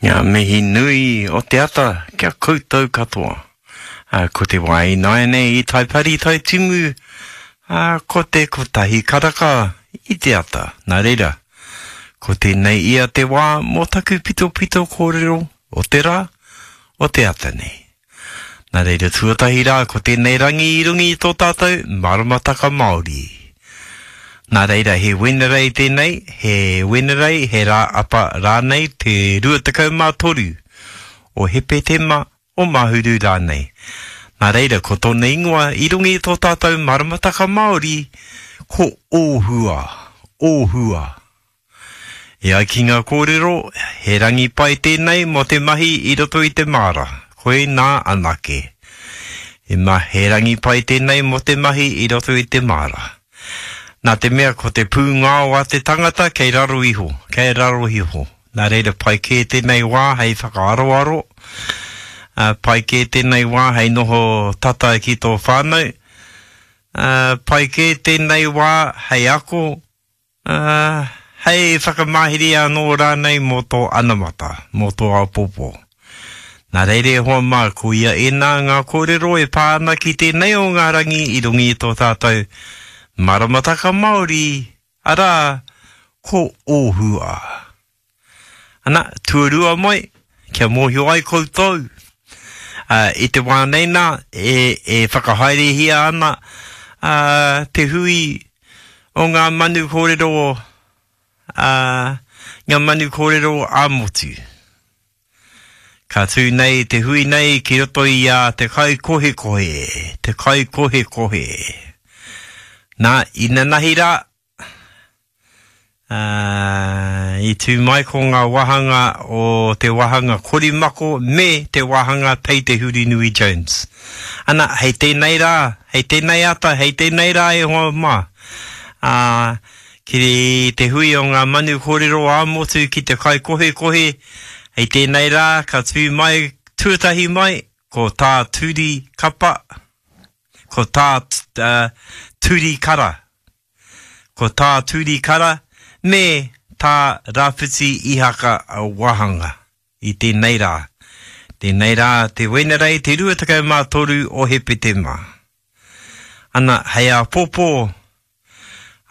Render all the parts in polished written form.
Ngā mihi nui o te ata kia koutou katoa. Ā, ko te wā ināianei i Taipari Taitimu, ā, ko te kotahi karaka i te ata. Nā reira, ko tēnei ia te wā mō taku pitopito kōrero o te rā, o te ata nei. Nā reira tuatahi rā ko tēnei rangi i runga i tō tātou maramataka Māori. Nā reira he Wenerei tēnei, he Wenerei, he rā apa rānei te 23 o Hepetema, o Mahuru rānei. Nā reira ko tōna ingoa i runga i tō tātou maramataka Māori ko Ōhua, Ōhua. E ai ki ngā kōrero, he rangi pai tēnei mō te mahi i roto i te māra, koinā anake. He ma, he rangi pai tēnei mō te mahi i roto i te māra. Nā te mea ko te pūngao a te tangata kei raro iho, kei raro iho. Nā reira pai kē tēnei wā hei whakaaroaro, ā, pai kē tēnei wā hei noho tata ki tō whānau, ā, pai kē tēnei wā hei ako, Ā, hei whakamāhere anō rānei mō tō anamata, mō tō āpōpō. Nā reira e hoa mā, ko ia ēnā ngā kōrero e pā ana ki tēnei o ngā rangi i runga i tō tātou maramataka Māori, arā, ko Ōhua. Ana, tuarua mai, kia mōhio ai koutou, ā, i te wā nei nā, e, e whakahaerehia ana, ā, te hui o ngā manu kōrero, ā, ngā manu kōrero ā-motu. Ka tū nei te hui nei ki roto i a Te Kaikohekohe, Te Kaikohekohe. Nā, inanahi rā, Ā, i tū mai ko ngā wāhanga o te wāhanga Korimako me te wāhanga Pei Te Hurinui Jones. Ana, hei tēnei rā, hei tēnei ata, hei tēnei rā e hoa mā, ā, ki te hui o ngā manu kōrero ā-motu ki te kaikohekohe, hei tēnei rā ka tū mai, tuatahi mai, ko tā Turi Kapa, ko tā Turi Kara. Ko tā Turi Kara me tā Rawhiti Ihaka wāhanga i tēnei rā. Tēnei rā te Wenerei te 23 o Hepetema. Ana, hei āpōpō,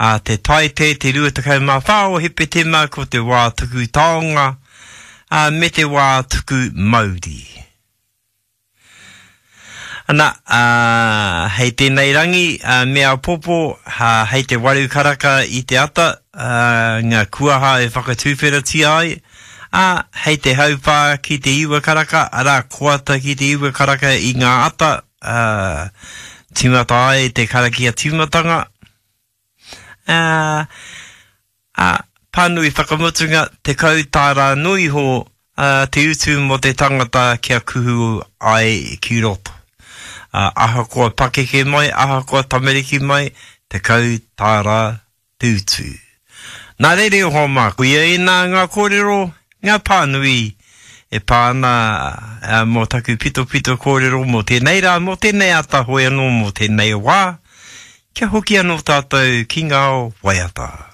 ā te Taite te 24 o Hepetema ko te wā tuku taonga, ā, me te wā tuku mauri. Ana, ā, hei tēnei rangi, ā, me āpōpō, ā, hei te waru karaka i te ata, ā, ngā kuaha e whakatuwheratia ai, ā, hei te hauwhā ki te iwa karaka, arā, koata ki te iwa karaka i ngā ata, ā, tīmata ai te karakia tīmatanga, ā, ā, pānui whakamutunga, 10 tāra noa iho te utu mō te tangata kia kuhu ai ki roto. Ā, ahakoa pakeke mai, ahakoa tamariki mai, 10 tāra te utu. Nā reira e hoa mā, koia ēnā ngā kōrero, ngā pānui e pā ana mō taku pitopito kōrero mō tēnei rā, mō tēnei ata hoi anō mō tēnei wā, kia hoki anō tātou ki ngā waiata.